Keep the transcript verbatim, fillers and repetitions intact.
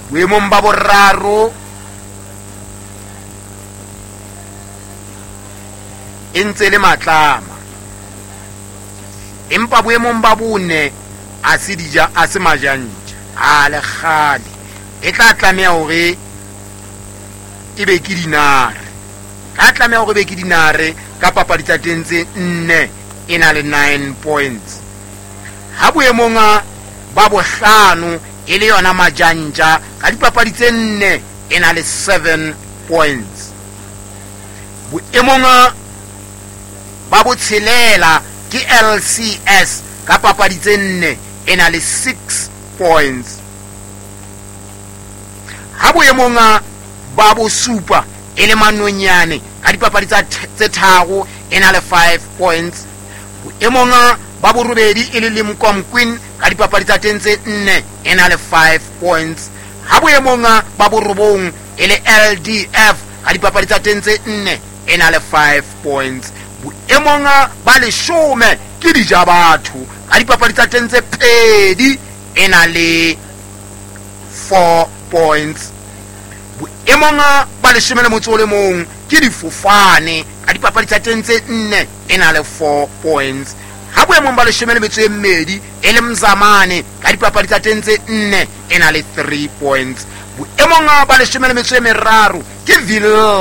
Boemong ba boraro e ntse le Matlama, empa boemong ba bone a se dija a se Majantja a le kgale e tla tlameha hore e be ke Dinare. Tla tlameha hore e be ke Dinare ka papadi tsa teng tse nne, e na le nine points. Ha boemong ba bohlano e le yona Majantja ka dipapadi tse nne, e na le seven points. Boemong ba botshelela ke L C S ka papadi tse nne, e na le six points. Ha boemong ba bosupa e le Manonyane ka dipapadi tsa tse tharo, e na le five points. Boemong ba borobedi e le Limkom Queen ka dipapadi tsa teng tse nne, e na le five points. Ha boemong ba borobong e le L D F ka dipapadi tsa teng tse nne, e na le five points. Boemong ba leshome ke Dijabatho ka dipapadi tsa teng tse pedi, e na le four points. Boemong ba leshome le motso o le mong ke Difofane ka dipapadi tsa teng tse nne, e na le four points. Ha boemong ba leshome le metso e mmedi e le Mzamane ka dipapadi tsa teng tse nne, e na le three points. Boemong ba leshome le metso e meraro ke Villa